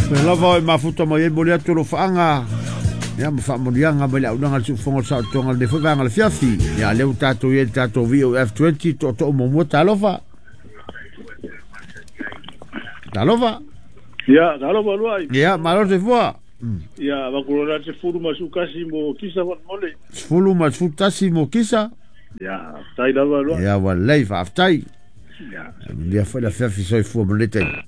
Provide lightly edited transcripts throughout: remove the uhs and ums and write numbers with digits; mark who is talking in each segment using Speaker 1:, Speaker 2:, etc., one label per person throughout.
Speaker 1: Pea lava o e mafuta mai ai moli atu o lo whaanga. Ia ma whaamonianga mai le aunaga le suufonga o le saotoga lenei foi vaega le fiafi. Ia lea ua tatou i ai le tatou VOF20 tootoo muamua talofa. Talofa.
Speaker 2: Ia, talofa luai.
Speaker 1: Ia, malo le soifua.
Speaker 2: Ia, vakulona te fulu ma sukasi mo kisa mole.
Speaker 1: 10 ma 11 mo kisa.
Speaker 2: Ia, tai lava luai.
Speaker 1: Ia, ua lelei, faafetai.
Speaker 2: Ia.
Speaker 1: Manuia foi le afiafi soifua ma lenei taimi.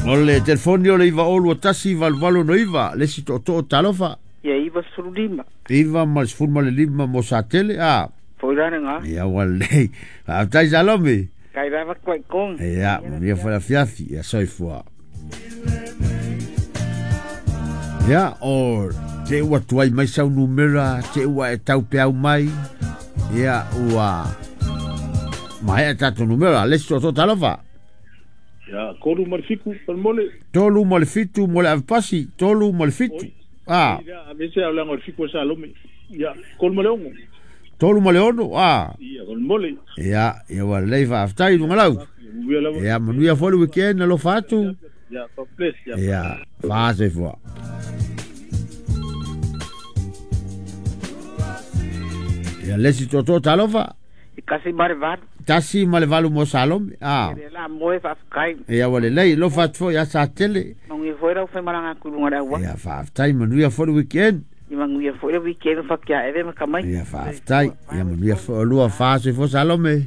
Speaker 1: O le telefoni o le 902 1889, le isi tootoo talofa.
Speaker 3: Ia 95.
Speaker 1: 9 ma le 15 mo Satele, a.
Speaker 3: Foi la lena.
Speaker 1: Ia ua lelei. Faafetai Salome.
Speaker 3: Kai lava koe kong.
Speaker 1: Ia, manuia foi le afiafi. Ia soifua. Ia, o te ua tuai mai sau numera, te ua e tau peau mai. Ia, ua maea tatou numera. Le isi tootoo talofa.
Speaker 2: Ia, 3 ma le 7 mole.
Speaker 1: 3 ma le 7 mo le avepasi, 3 ma le 7. A.
Speaker 2: Ia, avese au langa o le 7 o Salome. Ia, 3 ma le 6.
Speaker 1: 3 ma le 6, a.
Speaker 2: Ia, mole.
Speaker 1: Ia, ia ua lelei faafetai lugalau. Ia, manuia foi le weekend alofa atu.
Speaker 2: Ia, God bless. Ia,
Speaker 1: Ia, faasoifua. Ia, le isi tootoo talofa.
Speaker 3: I kasi ma le valu.
Speaker 1: 1 ma le 8 mo Salome. A.
Speaker 3: Le la moe faafetai.
Speaker 1: Ia ua lelei, alofa atu foi ia Satele.
Speaker 3: Manuia foi lau whaimaranga kulunga le aua.
Speaker 1: Ia, faafetai, manuia foi le weekend.
Speaker 3: I manuia foi le weekend whakia eve ma kamai.
Speaker 1: Ia, faafetai. Ia, manuia foi o lua faasoifua Salome.